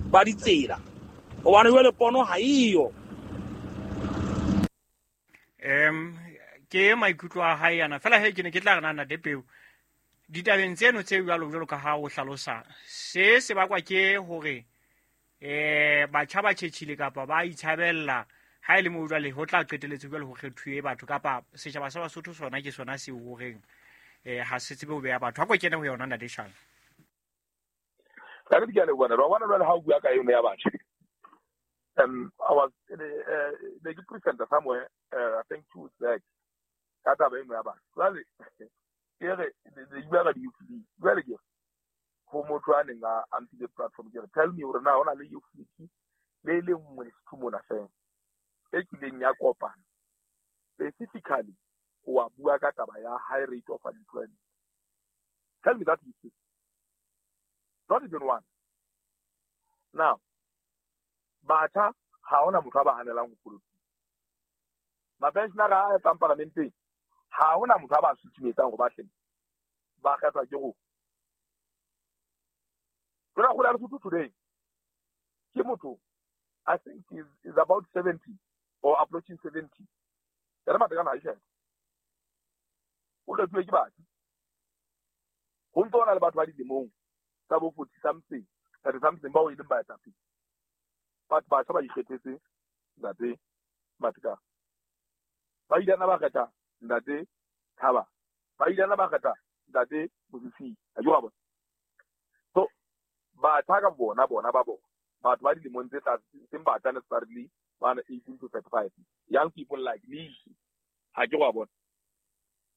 ba ditsela. Hobane jwale pono ha eyo. Ke maikutlo a hae yana. Fela he ke ne ke tla re na Ntate Peo, ditabeng tseno tse jwalo jwalo ka ha o hlalosa, se bakwa ke hore batjha ba tjhetjhile kapa ba itshabella ha e le moo jwale ho tla qetelletse jwale ho kgethuwe batho kapa setjhaba sa Basotho sona ke sona seo horeng ha se tsebe ho beha batho. Ha ko kene ho yona Ntate Shang. Ka nnete ke a leboha, wa bona jwale ha o bua ka eno ya batjha. I was ne ke presenter somewhere, I think 2 weeks back, ka taba eno ya batjha. Jwale ke re le bua ka di-youth league. Jwale ke re ho motho a neng a mphile platform, ke re tell me hore na hona le youth league le le nngwe Lesotho mona fela e kileng ya kopana specifically ho wa bua ka taba ya high rate of unemployment. Tell me that you see. Not even one. Now, batjha ha hona motho a ba hanelang ho politiki. Mapensionara a etsang parlamenteng ha hona motho a ba susumetsang hore ba tle ba kgethwa ke rona. Tona kgolo ya Lesotho today ke motho I think is about 70 or approaching 70. Yena Matekane ha e tjhebe. O kgethuwe ke batjha. Ho ntso hona le batho ba dilemong tsa bo 40 something, 30 something bao e leng baetapele. But batjha ba ikgethetse Ntate Matekane. Ba ile ba kgetha Ntate Thaba. Ba ile ba kgetha Ntate Mosisi. Ha ke wa bona. So batjha ka bona bona ba bona. Batho ba dilemong tse tlase, seng batjha necessarily, ba na 18 to 35. Young people like me. Ha ke wa bona.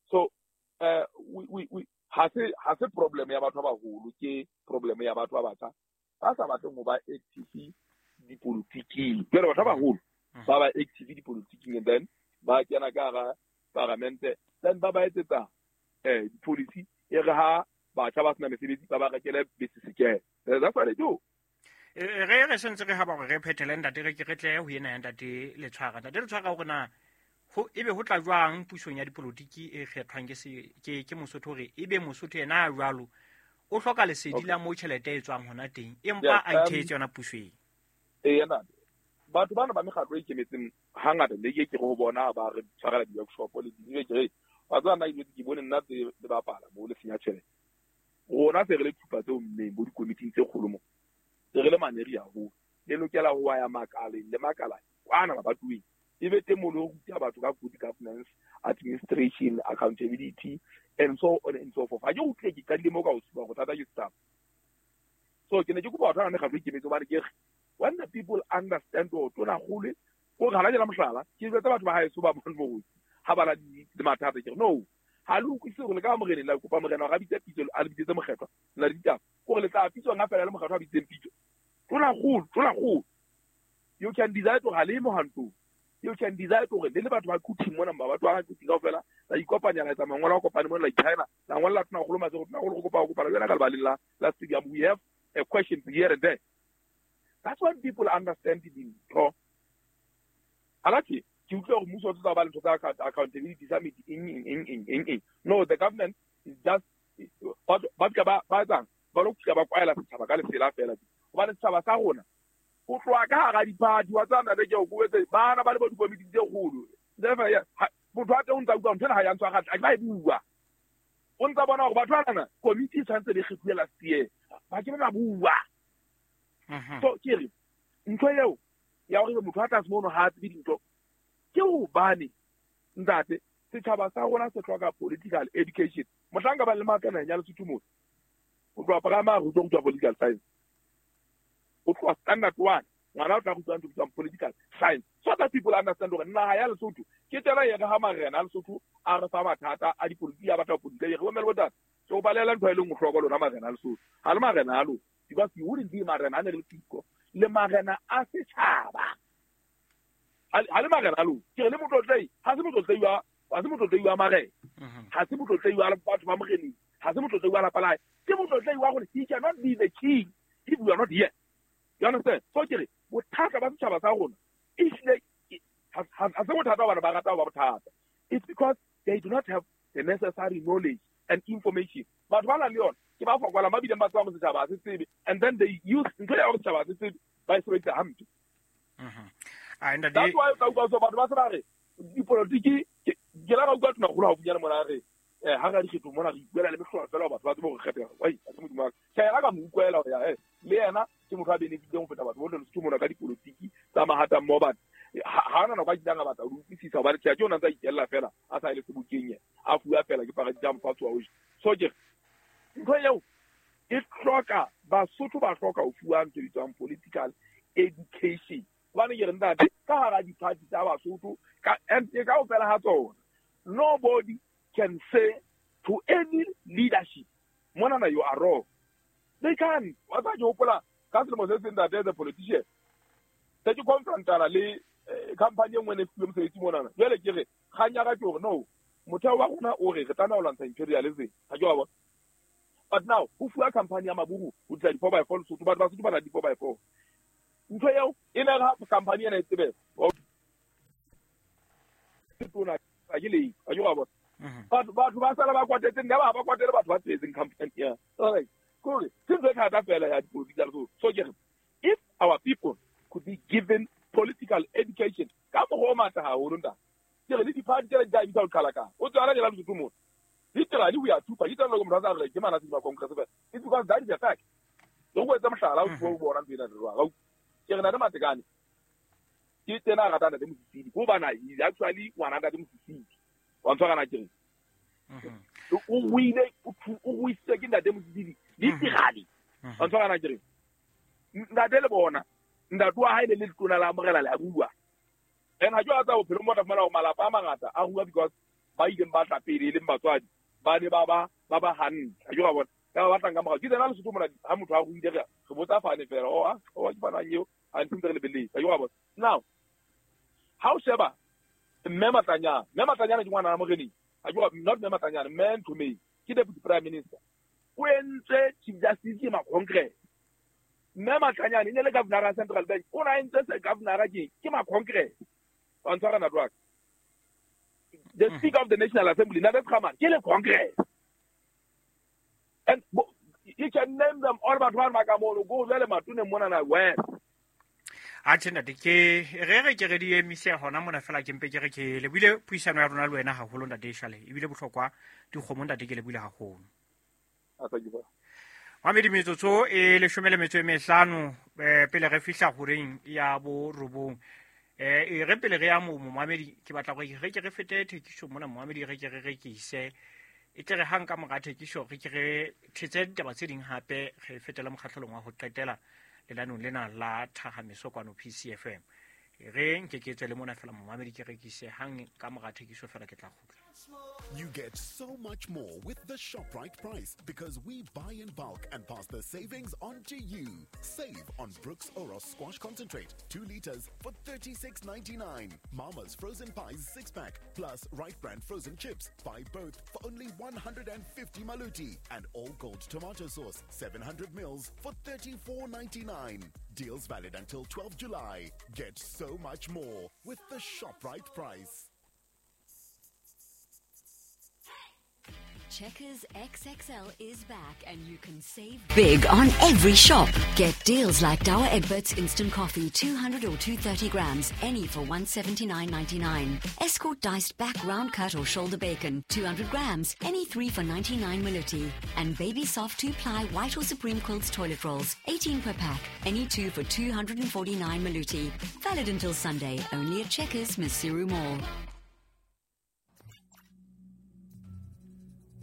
So we ha se problem ya batho ba baholo, ke problem ya batho ba batjha ba sa batleng ho ba active dipolotiking. Jwale batho ba baholo ba ba active dipolotiking and then ba kena ka hara paramente, then ba ba etsetsa di-policy e re ha batjha ba sena mesebetsi ba ba rekele baesekele. That's what they do. Re sentse re haba hore re phethele ntate, re ke re tle ho ena ya Ntate Letshwara. Ntate Letshwara hore na ho ebe ho tla jwang pusong ya dipolotiki e kgethwang ke Mosotho hore ebe Mosotho yena a jwalo o hloka lesedi la moo tjhelete e tswang hona teng, empa a ithetse yona puso eng? Yena batho bana ba mekgatlo e ikemetseng hangata le ke ke ho bona ba re tshwarela di-workshop le di ke re wa tseba nna ke bone nna tse le bapala mo le senya tjhelete. Rona se re le thupa tseo mmeng bo dikomiting tse kgolo mo. Se re le maneri haholo. Le lokela ho ya makaleng le makala kwana mabatoweng. E be teng mo le ho ruta batho ka good governance, administration, accountability and so on and so forth. Ha ke utlwe ke qadile mo ka ho supa hore thata ke staff. So ke ne ke kopa batho ba mekgatlo e ikemetseng hobane ke re when the people understand hore tona kgolo ko re ha la mohlala ke jwetsa batho ba haeso ba bone hore ha ba na le mathata ke re no ha le utlwisise hore le ka moreneng la kopa morena hore a bitse pitso a le bitsetse mokgethwa la ditaba kore le tla pitswa nga fela le mokgethwa a bitseng pitso. Tona kgolo, tona kgolo. You can decide hore ha le mohantong. You can decide hore le le batho ba Quthing mona, ba batho ba Quthing kaofela, la ikopanya la etsa mangolo a kopane mona la China, la ngolla tona kgolo matsoho, tona kgolo go kopa go kopana le wena ka lebaleng la stadium. We have a question here and there. That's when people understand dintho. Alati ke utlwa hore mmuso o tla ba le ntho tsa accountability summit eng eng eng eng eng eng. No, the government is just ba ba ba etsang ba lo kgutla ba kwaela setjhaba ka lesela fela. Hobane setjhaba sa rona ho tloha ka hara diphathi wa tsana le ke o kobetse bana ba le bo dikomiti tse kgolo. Motho a teng o ntsa utlwa ntho ena ha ya ntshwa hantle, a ke ba e bua. O ntsa bona hore batho bana komiti e tshwanetse be kgethuwe last year. Ba ke ba bua. So ke re ntho eo ya hore motho a tlase mono ha a tsebe dintho ke hobane ntate setjhaba sa rona se hloka political education. Mohlanka ba le matla naheng ya Lesotho mona o tloha primary o tlo rutwa political science, o tloha standard 1 Ngwana o tla rutwa ntho e bitswang political science, so that people understand hore naha ya Lesotho ke tsela e re ha marena a Lesotho a re fa mathata a dipolotiki, a batla ho politika, re bommele botate. So o balela ntho e leng hloko lona marena a Lesotho. Ha le marena a lona, because you wouldn't be marena a ne le siko, le marena a setjhaba. Ha le marena a lona. Ke re le motlotlei, ha se motlotlei wa, ha se motlotlei wa marena. Ha se motlotlei wa batho ba moreneng. Ha se motlotlei wa lapa la hae. Ke motlotlei wa gore he cannot be the king if we are not here. You understand? So ke re bothata ba setjhaba sa rona ehlile ha se bothata hobane ba rata ho ba bothata. It's because they do not have the necessary knowledge and information. Batho ba nang le yona ke ba fokolang, ba bileng ba tsebang hore setjhaba ha se tsebe, and then they use ntho ya hore setjhaba ha se tsebe, ba e sebedisa hampe. That's why o tla utlwa so batho ba se ba re dipolotiki, ke la ka utlwa Tonakgolo haufinyane mona a re, ha re ya dikgethong mona re ikuela le mehlolo fela hore batho ba tsebe hore re kgetha. Wai, ha se Modimo wa ka. Tjhe, yena ka mo utlwela hore ya, le yena ke motho a benefiteng ho feta batho bohle Lesotho mona ka dipolotiki tsa mahata mmoho, but ha hona nako a kileng a batla ho di utlwisisa hobane tjhe, ke ona ntse a ikella fela a sa ye le sebokeng yena, a fuwa fela ke parati tsa mofatshe wa ho ja. So ke re ntho eo e hloka Basotho ba hloka ho fuwa ntho e bitswang political education. Hobane ke re ntate, ka hara di-party tsa Basotho, ka, and ke kaofela ha tsona, nobody can say to any leadership, monana you are wrong. They can't. Wa tseba ke hopola ka selemo se seng ntate as a politician, se ke confrontana le company e nngwe ne e fuwe mosebetsi monana. Jwale ke re, kgang ya ka ke hore no, motheo wa rona o re re tlameha ho lwantsha imperialism. Ha ke wa bona? But now, ho fuwa company ya maburu ho tlisa di-four by four Lesotho, batho ba Basotho ba na le di-four by four. Ntho eo e ne re ha company ena e tsebe, tona ha ke le, ha ke wa bona? Batho ba sala ba kwatetse, nna ba kwatele batho ba tsebetseng company ya. Alright. Kore ke ntho e thata fela ya dipolotiki tsa Lesotho. So ke re, if our people could be given political education ka mokgwa o matla haholo ntate, ke re le di-party tsena di tla emisa ho qhalakana. O tswa hana ke la Lesotho mona. Literally we are two parties. Ke tsela motho a sa re ke mana se ba Congress fela. It's because that is a fact. Le go etsa mohlala o tlo bona ntho ena re jwang. Ke re na le Matekane. Ke tsena a ratana le Mosisili. Ko bana is actually ngwana ntate Mosisili. Wa ntshwara na ke re. O ruile, o ruisitswe ke ntate Mosisili. Literally. Wa ntshwara na ke re. Ntate le bona, ntate wa hae le le letona la morena le a bua. And ha ke wa tsa bophelong bo tla fumana hore malapa a mangata a rua because ba ileng ba tla pele e leng batswadi ba ne ba ba hantle. Ha ke wa bona? Ka ba batlang ka morao. Ke tsena Lesotho mona ha motho a ruile re botsa fane fela. Oh, ah, oh, ke bana eo. Ha ntse re lebeletse. Ha ke wa bona? Now, ha o sheba Mme Matlanyana, Mme Matlanyana ke ngwana wa moreneng. Ha ke wa, not Mme Matlanyana, Mme Nthomeng ke deputy prime minister. O entse chief justice ke ma Congress. Mme Matlanyana e ne le governor ya Central Bank. O na entse se governor ke ma Congress. Wa ntshwara na jwang? The Speaker of the National Assembly, Ntate Kgamane, ke le Congress. And you can name them all batho ba ka mono, go jwale matone mona na west. Atjhe ntate, ke re ke re di emise hona mona fela, ke mpe ke re ke lebile puisano ya rona le wena haholo ntate Shale, ebile bohlokwa dikgomo ntate ke lebile haholo. Mamedi metsotso e 15 pele re fihla horeng ya bo 9. E re pele re ya mo momamedi, ke batla gore re ke re fete thekiso mona momamedi, re ke re rekise e tle re hang ka mora thekiso re ke re thetse ditaba tse ding hape re fetela mokgahlelong wa ho qetela lenaneong lena la Thahameso kwano PCFM. Re nke ke tswe le mona fela momamedi, ke rekise hang ka mora thekiso fela ke tla kgutla. You get so much more with the ShopRite price because we buy in bulk and pass the savings on to you. Save on Brooks Oros Squash Concentrate, 2 liters for $36.99. Mama's Frozen Pies 6-pack plus Right Brand Frozen Chips. Buy both for only 150 maluti. And All Gold Tomato Sauce, 700 mils for $34.99. Deals valid until 12 July. Get so much more with the ShopRite price. Checkers XXL is back and you can save big on every shop. Get deals like Douwe Egberts Instant Coffee, 200 or 230 grams, any for $179.99. Escort diced back round cut or shoulder bacon, 200 grams, any 3 for 99 maluti. And Baby Soft 2-ply white or Supreme Quilts toilet rolls, 18 per pack, any 2 for 249 maluti. Valid until Sunday, only at Checkers, Maseru Mall.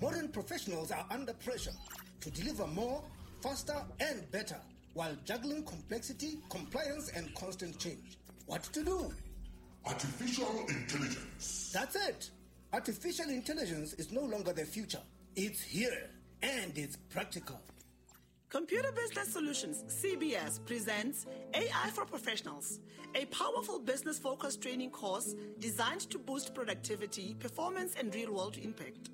Modern professionals are under pressure to deliver more, faster, and better. while juggling complexity, compliance, and constant change. What to do? Artificial intelligence. That's it. Artificial intelligence is no longer the future. It's here, and it's practical. Computer Business Solutions, CBS, presents AI for Professionals, a powerful business-focused training course designed to boost productivity, performance, and real-world impact.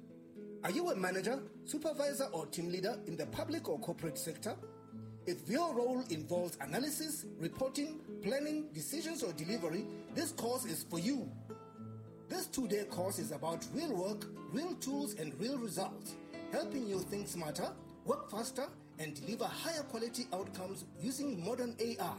Are you a manager, supervisor, or team leader in the public or corporate sector? If your role involves analysis, reporting, planning, decisions, or delivery, this course is for you. This 2-day course is about real work, real tools, and real results, helping you think smarter, work faster, and deliver higher quality outcomes using modern AI.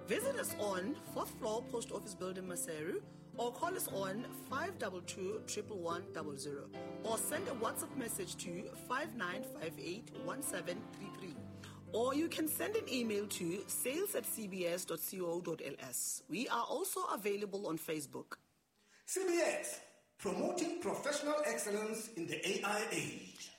Visit us on 4th floor Post Office Building, Maseru, or call us on 522-11100, or send a WhatsApp message to 5958-1733. Or you can send an email to sales@cbs.co.ls. We are also available on Facebook. CBS, promoting professional excellence in the AI age.